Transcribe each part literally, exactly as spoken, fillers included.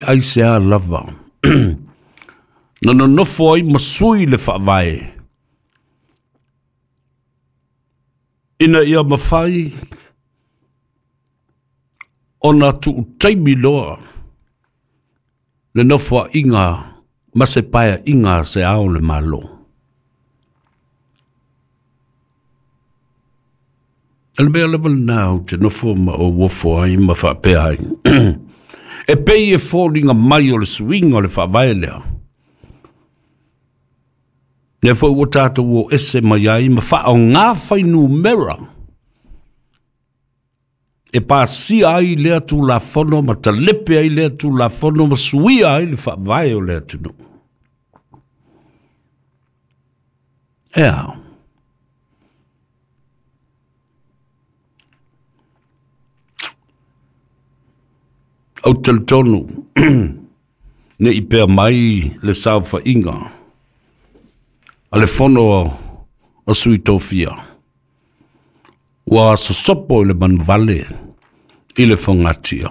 Aisea lava na nonofo ai ma sui le faavae ina ia mafai ona tuutaimi loa le nofoaiga ma se paeaiga a se Ao o le Malo. O le mea lava lena ou te nofo ma ou ofo ai ma faapea ai, e pei e foliga mai o le suiga o le faavae lea, lea foi ua tatou o ese mai ai ma faaaoga fuainumera e pasia ai lea Tulafono ma talepe ai lea Tulafono ma suia ai le faavae o le atunuu. E a? Ou te talitonu ne i pea mai le saofaiga a le fono o Sui Tofia ua sosopo i le manuvale i le fogatia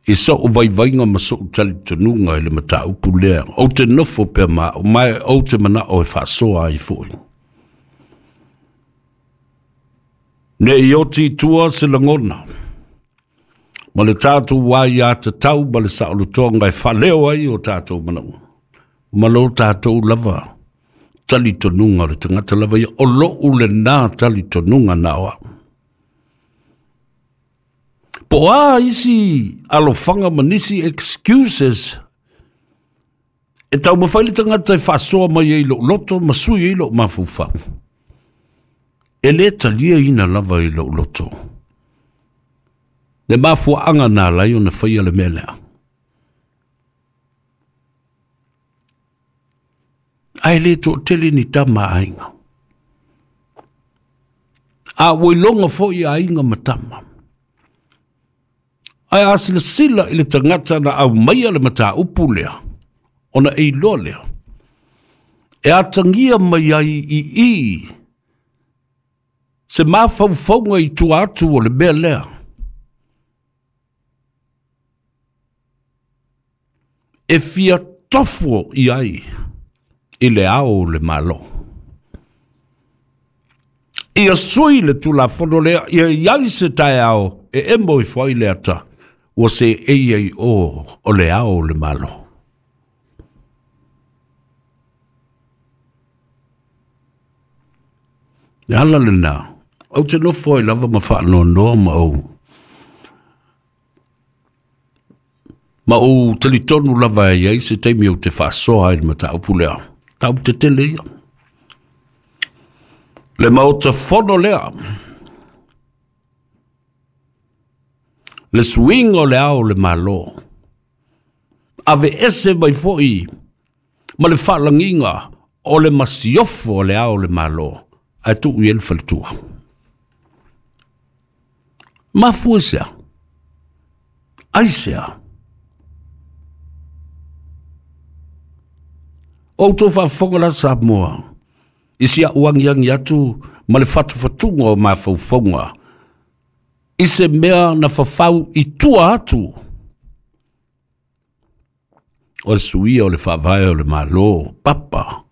i so'u vaivaiga ma so'u talitonuga i le mataupu lea. Ou te nofo pea ma au, ma ou te mana'o e faasoa ai fo'i. Ne i oti i tua se lagona ma le tatou aiā tatau ma le saolotoga e faaleo ai o tatou manaoga ma lo tatou lava talitonuga o le tagata lava ia, o lo'u lenā talitonuga na o a'u. Po o a isi alofaga ma nisi excuses e taumafai le tagata e faasoa mai ai lo'u loto ma sui ai lo'u mafaufau, e lē taliaina lava i lo'u loto le mafuaaga na alai ona faia le mea lea. Ae lē toʻatele ni tama a aiga, a ua iloga foʻi aiga ma tama. Ae a silasila i le tagata na aumaia le mataupu lea, ona e iloa lea e atagia mai ai i i se mafaufauga i tua atu o le mea lea e fia tofo i ai i le Ao o le Malo. Ia sui le Tulafono lea, ia iai se taeao e emo ifo ai le ata ua seei ai o o le Ao o le Malo. Le ala lenā, ou te nofo ai lava ma faanoanoa ma ou ma ou talitonu lava e iai se taimi ou te faasoa ai le mataupu lea. Taupu tetele ia. Le maota fono lea, le suiga o le Ao o le Malo, aveese mai fo'i ma le faalagiga o le masiofo o le Ao o le Malo, ae tuu i ai le faletua. Mafua i sea? Aisea? O outou faafofoga la Samoa i si a'u agiagi atu ma le fatufatuga o mafaufauga i se mea na fafau i tua atu o le suia o le faavae o le Malo, papa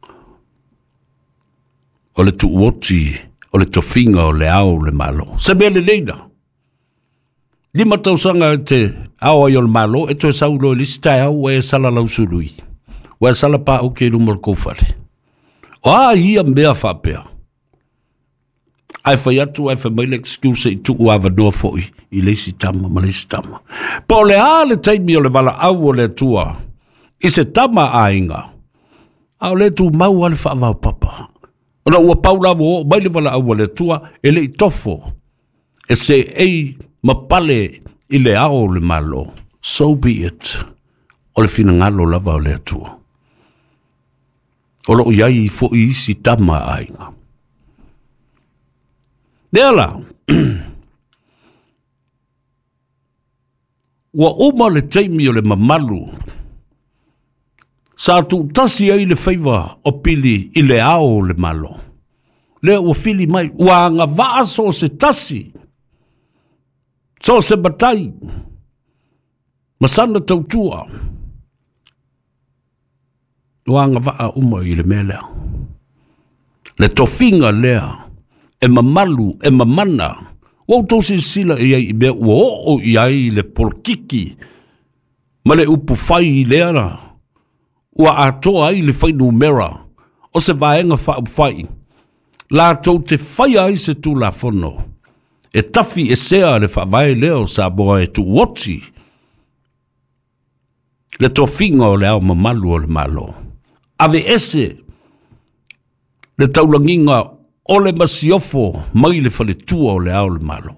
o le tuuoti o le tofiga o le Ao o le Malo. Se mea lelei na. Lima tausaga e te ao ai o le Malo, e toe sau loa i le isi taeao ua e sala lausului, ua e sala paauki i luma o le koufale. O a ia mea faapea? Ae fai atu ae fai mai le excuse i tuu avanoa fo'i i le isi tama ma le isi tama. Po o le a le taimi o le valaau o le Atua i se tama a aiga, a o le tumau lava le faavaopapa. Ona ua pau la ua oo mai le valaau a le Atua e le i tofo e seei ma pale i le Ao o le Malo. So be it. O le finagalo lava o le Atua. O loo i ai fo'i isi tama a aiga. Lea la, ua uma le taimi o le mamalu sa tuutasi ai le faiva o Pili i le Ao o le Malo. Lea ua fili mai, ua agavaa so o se tasi, so o se matai, Masana tautua. Ua agava'a uma i le mea lea. Le tofiga lea e mamalu e mamana. Ua outou silasila i ai i mea ua oo i ai le polokiki ma le upufai lea ua atoa ai le fuainumera o se vaega faaupufai latou te faia ai se Tulafono e tafi esea le faavae lea o Samoa e tuuoti le tofiga o le Ao Mamalu o le Malo. Ave ese le taulagiga o le masiofo mai le faletua o le Ao o le Malo.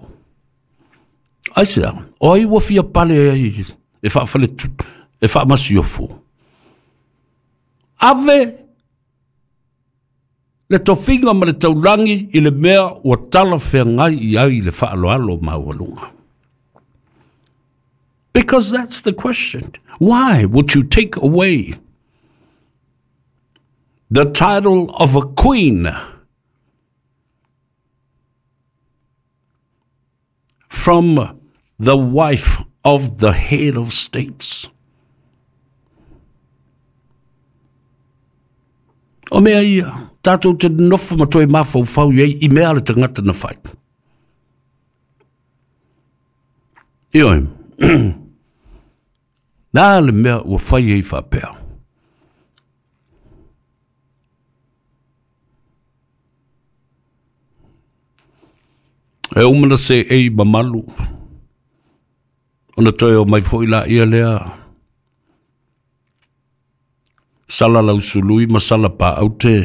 Aisea, o ai ua fia pale ai e faafaletu, e faamasiofo. Ave le tofiga ma le taulagi i le mea ua talafeagai i ai le faaaloalo maualuga. Because that's the question. Why would you take away the title of a queen from the wife of the head of states? O mea ia, tātou te nofo ma toe mafaufau i ai i mea le tagata na fai. Ioe, nā le mea ua fai ai faapea. E uma na se ei mamalu, ona toe o mai foi la ia lea, sala lausului ma sala pa aute,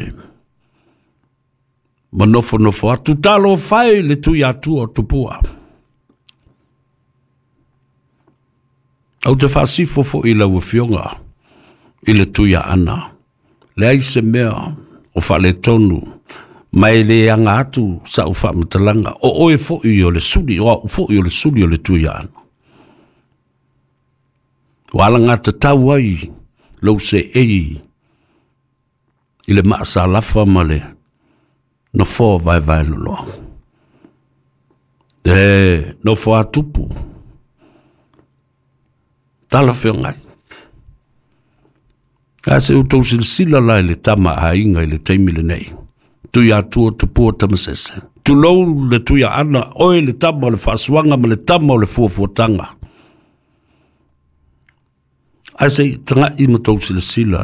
ma nofo nofo atu talo fai le tui atua tupua. Au te faasifo foi lau afioga i le tui ana. Leai se mea o faaletonu ma e le aga atu sa'u faamatalaga o oe fo'i o le suli o a'u fo'i o le suli o le tui ana. Ua alagatatau ai lou se'ei i le maasalafa ma le nofoa vaevae loloa. E nofo atupu talafeagai. A se outou silasila la i le tama aiga i le taimi lenei. Tui atua tupua tamasese. Tulou le tui ana oe le tama o le faasuaga ma le tama o le fuafuataga. Ae se i taga'i ma tou silasila.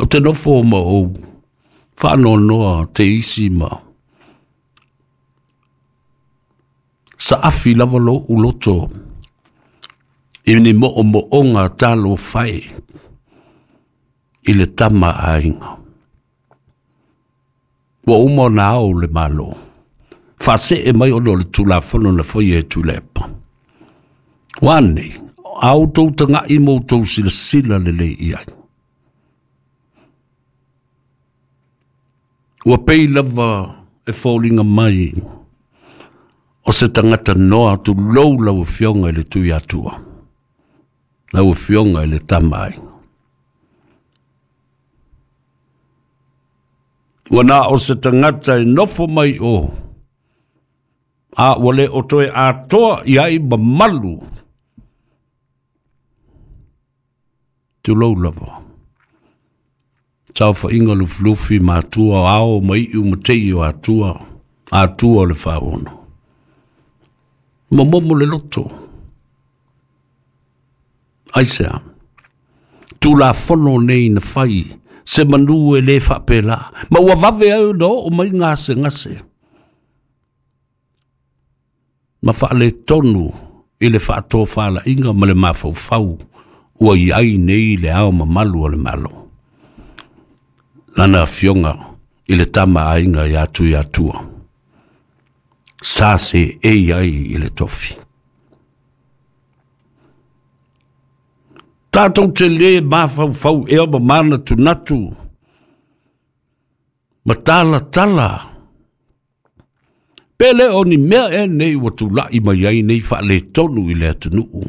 O te nofo ma ou faanoanoa te isi ma saafi lava lo'u loto i ni mo'omo'oga talofai i le tama aiga. Ua uma ona ao le Malo. Faasee mai ona o le Tulafono na faia e Tuilaepa. Ua anei, a outou taga'i ma outou silasila lelei i ai. Ua pei lava e foliga mai o se tagata noa tulou lau afioga i le tui atua. Lau afioga i le tama aiga. Ua na o se tagata e nofo mai o, a ua le o toe atoa i ai mamalu. Tulou lava. Saofaiga lufilufi ma atua ao ma iu ma tei o atua, atua o le faaono. Momomo le loto. Aisea, Tulafono nei na fai, se manu e le faapelā. Ma ua vave ai ona oo mai gasegase. Ma faaletonu i le faatofalaiga ma le mafaufau ua i ai nei le Ao Mamalu o le Malo. Lana afioga i le tama aiga ia Tui Atua. Sa se ei ai i le tofi. Tātou te le mafaufau ea ma manatunatu ma talatala. Pe le o ni mea e nei ua tula'i mai ai nei faaletonu i le atunuu.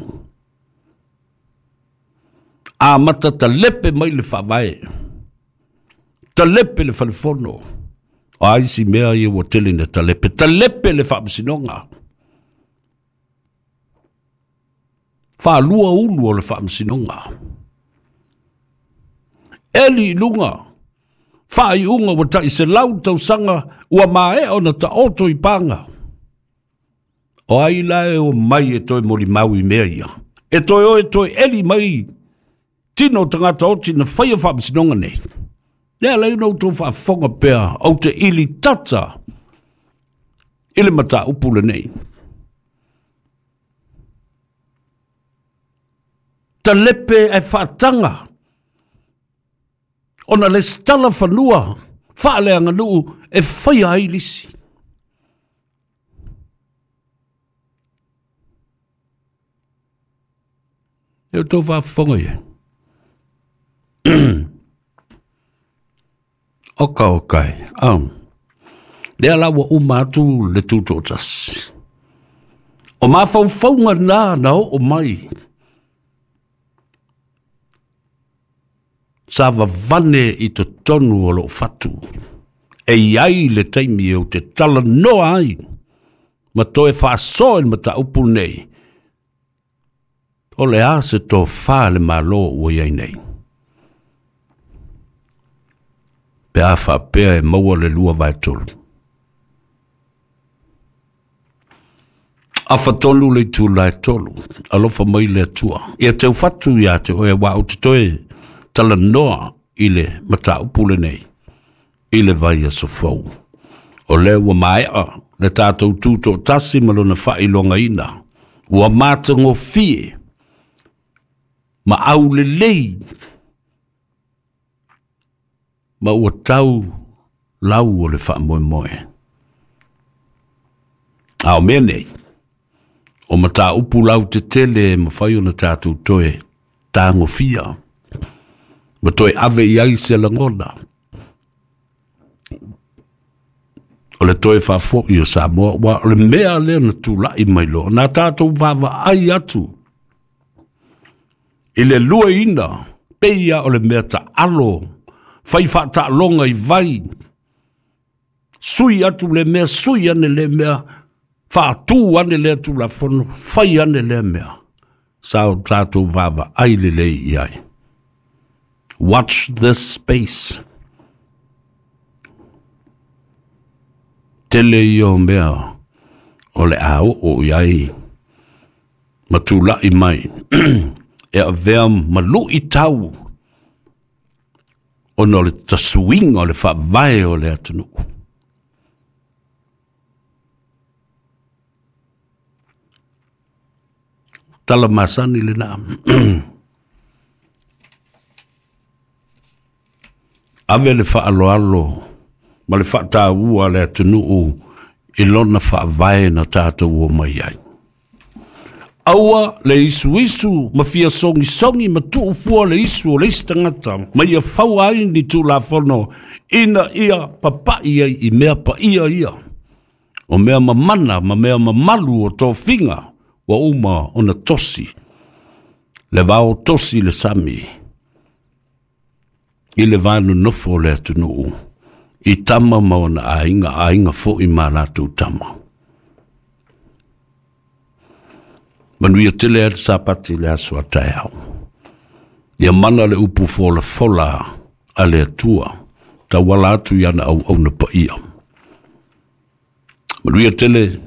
A mata talepe mai le faavae. Talepe le falefono. O ai si mea ia ua tele na talepe. Talepe le faamasinoga. Faalua ulu o le faamasinoga. Eli i luga, faaiuga ua taʻiselau tausaga ua maea ona taoto i paga. O ai la e o mai e toe molimau i mea ia. E toe o e toe eli mai tino o tagata oti na faia faamasinoga nei. Lea lai na outou faafofoga pea ou te ili tata i le mataupu lenei. Talepe ae faataga ona lesitala fanua faaleaganuu e faia ai lisi. E outou faafofoga ia. Oka oka e. Um. Lea la ua uma atu le tutoatasi. O mafaufauga na na oo mai. Sa vavane i totonu o loo fatu. E iai le taimi o te talanoa ai. Ma toe faasoa i le mataupu nei. O le a se tofā le Malo ua iai nei. Pe a faapea e maua le lua vae tolu. Afatolu le itula e tolu. Alofa mai le Atua. Ia teu fatu ia te oe wa o te toe talanoa i le mataupu lenei. I le vaiaso fou. O lea ua maea le tatou tutoatasi ma lona faailogaina. Ua matagofie ma aulelei ma ua tau lau o le faamoemoe. A o mea nei, o mataupu lau tetele e mafai ona tatou toe tagofia ma toe ave i ai se lagona. O le toe faafo'i o Samoa, ua o le mea lea na tula'i mai loa, na tatou vaavaai atu i le luaina, peia o le mea taalo, fai faataaloga i vai, sui atu le mea, sui ane le mea, faatū ane lea Tulafono, fai ane lea mea. Sa o tatou vaavaai lelei i ai. Watch this space. Tele ia o mea o le a oo i ai ma tula'i mai e avea malu'i tau ona o le tasuiga o le faavae o le atunuu. Tala masani lena. Ave le faaloalo ma le faataua le atunuu i lona faavae na tatou o mai ai. Aua le isuisu ma fia sogisogi ma tuufua le isu o le isi tagata ma ia faua ai ni Tulafono ina ia papa'i ai i mea paia ia. O mea mamana ma mea mamalu o tofiga ua uma ona tosi. Le vao tosi le sami i le va nonofo o le atunuu i tama ma ona aiga, aiga fo'i ma latou tama. Manuia tele ai le Sapati le aso a taeao. Ia mana le upu folafola a le Atua, tauala atu i ana auauna paia. Manuia tele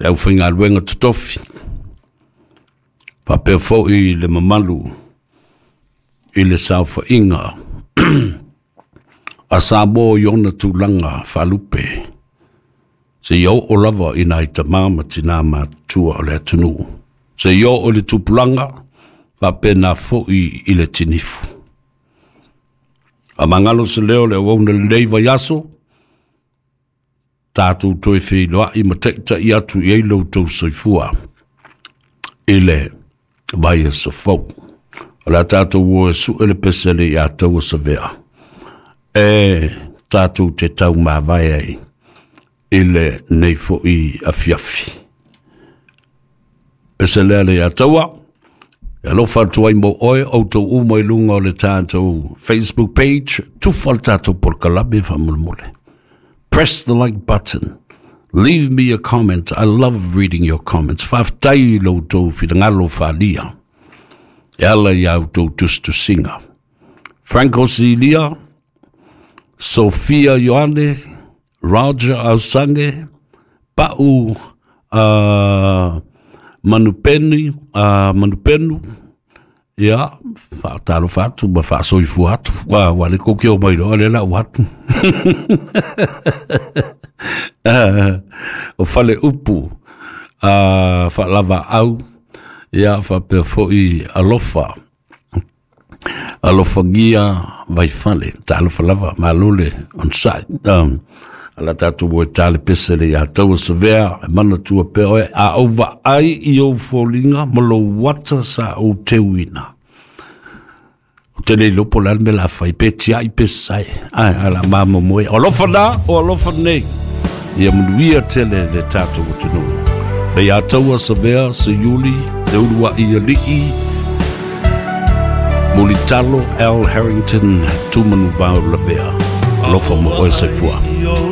le aufaigaluega totofi, faapea fo'i le mamalu i le saofaiga a Samoa i ona tulaga faalupe, seia oo lava i nai tamā ma tinā matutua o le atunuu, seia oo i le tupulaga faapena fo'i i le tinifu. Faamagalo se leo le auauna lenei vaiaso, tatou toe feiloai ma taʻitaʻi atu i ai lo outou soifua i le vaiaso fou. O le a tatou o e suʻe le pese le iā taua savea e tatou te taumavae ai i lenei fo'i afiafi. Pese lea le iā taua, e alofa atu ai mo oe outou uma i luga o le tatou Facebook page, tufa le tatou polokalame faamolemole. Press the like button. Leave me a comment. I love reading your comments. Faafetai i lo outou finagalo faaalia e ala i a outou tusitusiga. Franco Silia, Sophia Ioane, Roger Ausange, Pa'u uh, Manupeni, uh, Manupenu, ia, faatalofa atu ma faasoifua atu, ua ua le kokio mai loa le lau atu. O fale upu, uh, faalavaau, ia, faapea foʻi alofa, alofagia Vaifale, talofa lava, malo le onosai. Um, ala tatou o e tale pese le iā taua savea, e manatua pea oe, a ou vaai i ou foliga ma lou ata sa ou teuina. O te le iloa po o le a le mea o le a fai, pe tiai pe sae, ae ala mamomoe. O alofa na, o alofa nei, ia manuia tele le tatou atunuu. Le iā taua savea, Seiuli, le uluai alii, Mulitalo L. Harrington, Tumanuvao Lavea. Alofa mo oe soifua.